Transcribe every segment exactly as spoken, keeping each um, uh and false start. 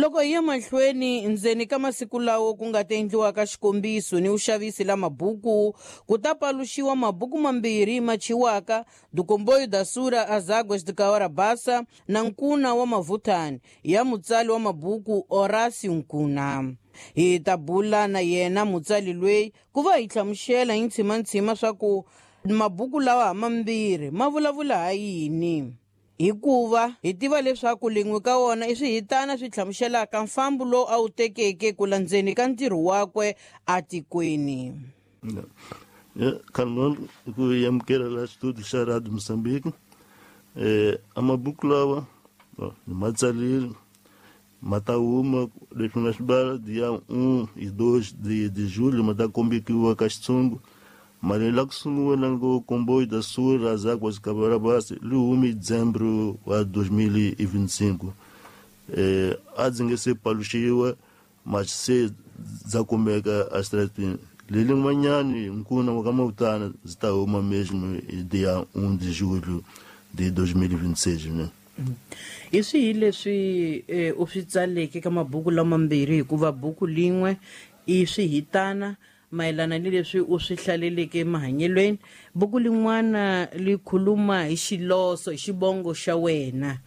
Loko hi ya mahlweni ndzeni ka masiku lawo ku nga ta endliwaka xikombiso ni vuxavisi la mabuku, ku ta paluxiwa mabuku mambirhi ma chiwaka Do Comboio da Sura às Águas de Cahora Bassa na Nkuna wa Mavuthani ya mutsali wa mabuku Horácio Nkuna. Hi ta bula na yena mutsali loyi ku va hi hlamusela hi ntshimantshima swa ku mabuku lawa mambirhi ma vulavula ha yini, hikuva hi tiva leswaku lin'we ka wona i swihitana swi hlamuselaka mfambo lowu a wu tekeke ku landzeni ka ntirho wakwe atikweni. Carmelo, ku amukela la studio xa Radio Moçambique. Eh, amabuku lawa ni ma tsalile ma ta huma leswi nga swi vala dia um e dois de, de julho ma ta kombekiwa ka Xitsonga. Mas lá que sungula ngo Comboio da Sura às Águas de Cahora Bassa li humi em dezembro de dois mil e vinte e cinco. Eh, a dzi nge se paluxiwa mas se dza kumeka a estratini. Leli n'wanyani Nkuna wa ka Mavutana dzi ta huma mesmo dia um de julho de dois mil e vinte e seis, né? Hi swihi leswi eh, u swi tsaleke ka mabuku lamambirhi, hikuva buku lin'we i swihitana mayelana ni leswi u swi hlaleleke emahanyelweni, buku lin'wana li khuluma hi xiloso, hi xivongo xa wena.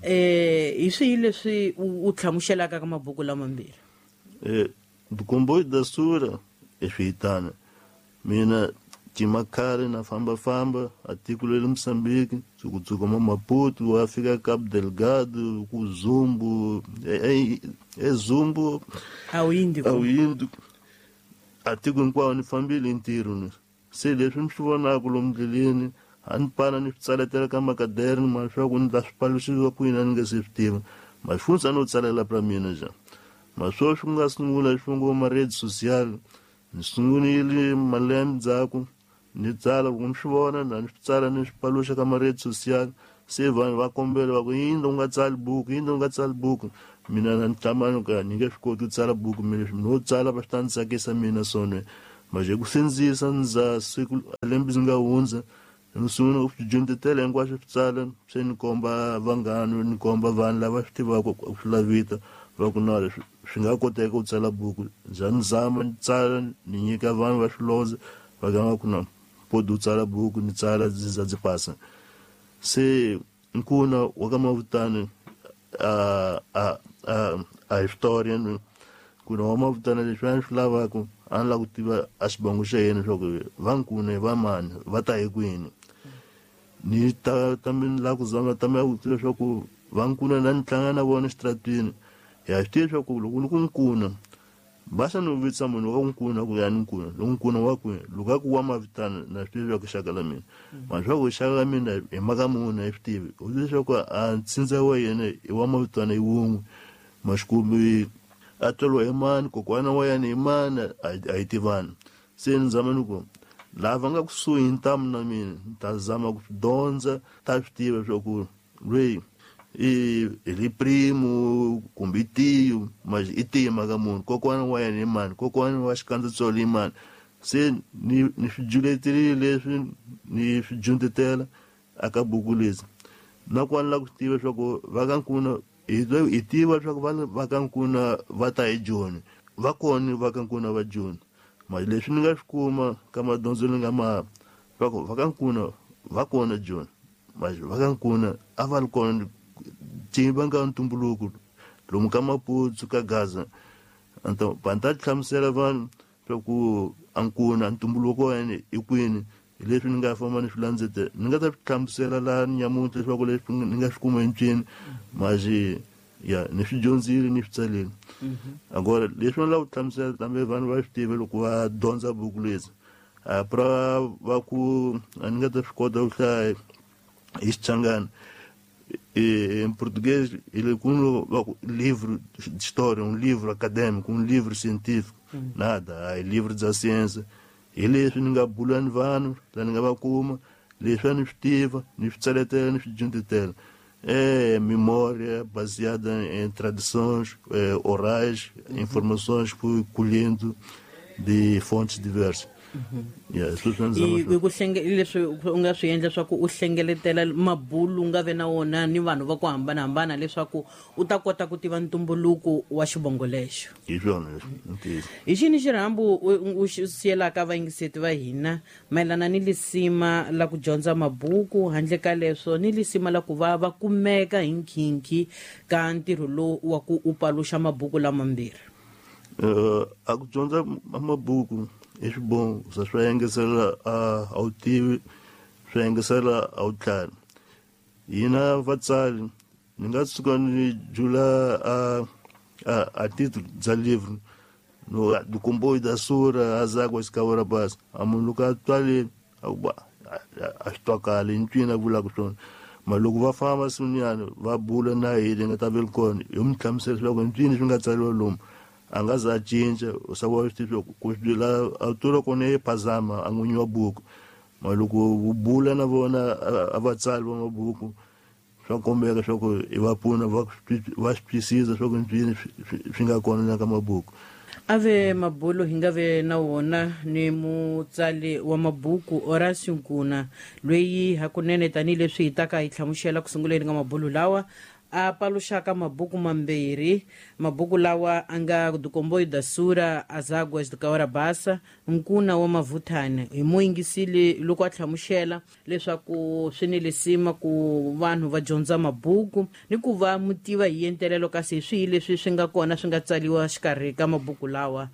Eh, hi swihi leswi u, u hlamuselaka ka mabuku lamambirhi? Eh, do Comboio da Sura i swihitana. Mina timakhale na famba-famba atiko leri Moçambique, tsukutsuku ma Maputo, wa fika Cabo Delgado, ku Zumbu, e, e Zumbu awuyindi awuyindi atiko hinkwawo ni fambile hi ntirho ni. Se leswi ni swi vonaka lomu ndleleni a ni pana ni swi tsaletela ka makaderni ma leswaku ni ta swi paluxiwa kwini a ni nga se swi tiva. Mas funtsi a no tsalela pra mina ja. Mas sweswi ku nga sungula leswi ngo ma rede social, ni sungurile malembe ndzhaku ni tsala loko ni swi vona na ni swi tsala ni swi paluxa ka ma rede social. Se vanhu va kombela va ku yini u nga tsali buku, yini u nga tsali buku. Mina na ni tlamani ka ni nge swi koti ku tsala buku, mina leswi no tsala va swi ta ni tsakisa mina swona. Mas hi ku sindzisa ndza siku lembe ndzi nga hundza ni sungula ku swi dyondzitela hinkwaswo swi tsala, se ni komba vanghana, ni komba vanhu lava swi tivaka ku swi lavita, va ku na leswi swi nga koteka ku tsala buku. Ndza ni zama ni tsala ni nyika vanhu va swilondza va ganga ku na podi u tsala buku, ni tsala ndzi za ndzi pasa. Se Nkuna wa ka Mavutana a a a a historia ni Nkuna wa Mavutana leswi a ni swi lavaka a ni lava ku tiva a xivongo xa yena leswaku va Nkuna va mani va ta hi kwini. Ni ta ta mi lava ku zama ta mi ku tiva leswaku va Nkuna na ni tlanga na vona exitratini. Ya swi tiva leswaku loko ni ku Nkuna va xa ni vutisa munhu wa Nkuna ku ya ni Nkuna, loko Nkuna wa kwini, loko a ku wa Mavutana na swi tiva leswaku xaka la mina. Ma swa ku xaka la mina hi maka mune a yi swi tivi. U tiva leswaku a ntsindza wa yena i wa Mavutana i wun'we. Maxikumbi a tweliwa hi mani, kokwana wa yena hi mani, a yi tivani. Se ni zama ni ku lava nga kusuhi hi ntamu na mina ni ta zama ku swi dyondza, ta swi tiva leswaku lweyi i hi primo kumbe i tiyo, mas i tiyo maka munhu, kokwana wa yena i mani, kokwana wa xikandzatsolo i mani. Se ni ni swi juleterile leswi ni swi dyondzetela aka buku lezi. Na ku lava ku tiva leswaku va ka Nkuna hi hi tiva leswaku va va ka Nkuna va ta hi Joni, va kona va ka Nkuna va Joni. Mas leswi ni nga swi kuma ka madyondzo ni nga ma va va ka Nkuna va kona Joni, mas va ka Nkuna a va ri kona va nga ntumbuluko lomu ka Maputo ka Gaza. Então va ta hlamusela vanhu leswaku a Nkuna ntumbuluko wa yena hi kwini, hi leswi ni nga famba ni swi landzete. Ni nga ta swi hlamusela laha nyamuntlha leswaku leswi ni nga swi kuma entswini, mas ya ni swi dyondzile ni swi tsalile. Agora leswi ni lava ku hlamusela kambe vanhu va swi tiva loko va dyondza buku lezi, a pra va ku a ni nga ta swi kota ku hlaya hi Xichangani. Em português, ele é um livro de história, um livro acadêmico, um livro científico, hum. Nada, aí livro da ciência. Ele é um bulano vano, lá leswi a ni swi tiva, ni swi tsaletela, ni swi dyondzitela. É memória baseada em tradições é, orais, uhum. Informações que fui colhendo de fontes diversas. Ya sweswo ndzi i ku hlenge leswi u nga swi endla swa ku u hlengeletela mabulu nga ve na wona ni vanhu va ku hambanahambana leswaku u ta kota ku tiva ntumbuluko wa xivongo lexo. Hi swona leswi. Hi xini xirhambo u xi siyelaka vayingiseti va hina mayelana ni lisima la ku dyondza mabuku handle ka leswo ni lisima la ku va va kumeka hi nkhinkhi ka ntirho lowu wa ku u paluxa mabuku lamambirhi? Uh, a ku dyondza mabuku i swibongo swa swi engesela a wu tivi, swi engesela a wu tlhari. Hina vatsari ni nga tshuka ni jula a a a título bya livro no do comboio da Sura as águas de Cahora Bassa a munhu loko a twaleni a ku ba a swi twakali ni twini a vulaka swona. Ma loko va famba swin'wanyana va bula na hina nga ta ve kona hi mi hlamusela leswaku ni twini swi nga tsariwa lomu a nga za cinca u sa wa swi tivi ku la autora kona e phazama a n'winyi wa buku. Ma loko u bula na vona a vatsari va mabuku swa kombeka swa ku i va pfuna va va swi twisisa swa ku ni twini swi nga kona na ka mabuku. Ave mabulo hi nga ve na wona ni mutsali wa mabuku Horácio Nkuna loyi hakunene tanihileswi hi taka hi hlamusela ku sunguleni ka mabulo lawa a paluxaka mabuku mambirhi. Mabuku lawa a nga do Comboio da Sura as Águas de Cahora Bassa Nkuna wa Mavuthane. Hi mu yingisile loko a hlamusela leswaku swi ni lisima ku vanhu va dyondza mabuku ni ku va mu tiva hi entelelo kasi hi swihi leswi swi nga kona swi nga tsariwa xikarhi ka mabuku lawa.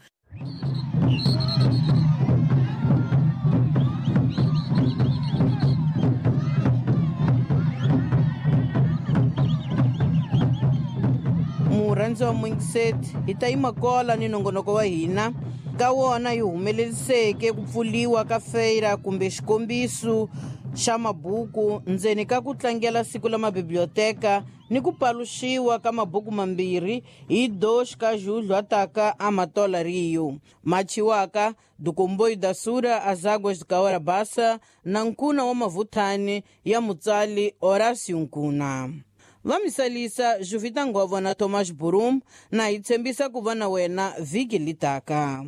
Murhandzi wa muyingiseti, hi ta yima kola ni nongonoko wa hina ka wona yi humeleriseke ku pfuliwa ka feira kumbe xikombiso xa mabuku ndzeni ka ku tlangela siku la mabiblioteka ni ku paluxiwa ka mabuku mambirhi hi dois ka julho ataka a Matola Rio machiwaka do Comboio da Sura as Águas de Cahora Bassa na Nkuna wa Mavuthane ya mutsali Horácio Nkuna. Va misalisa Juvita Ngova na Thomas Burum na hi tshembisa ku va na wena vhiki litaka.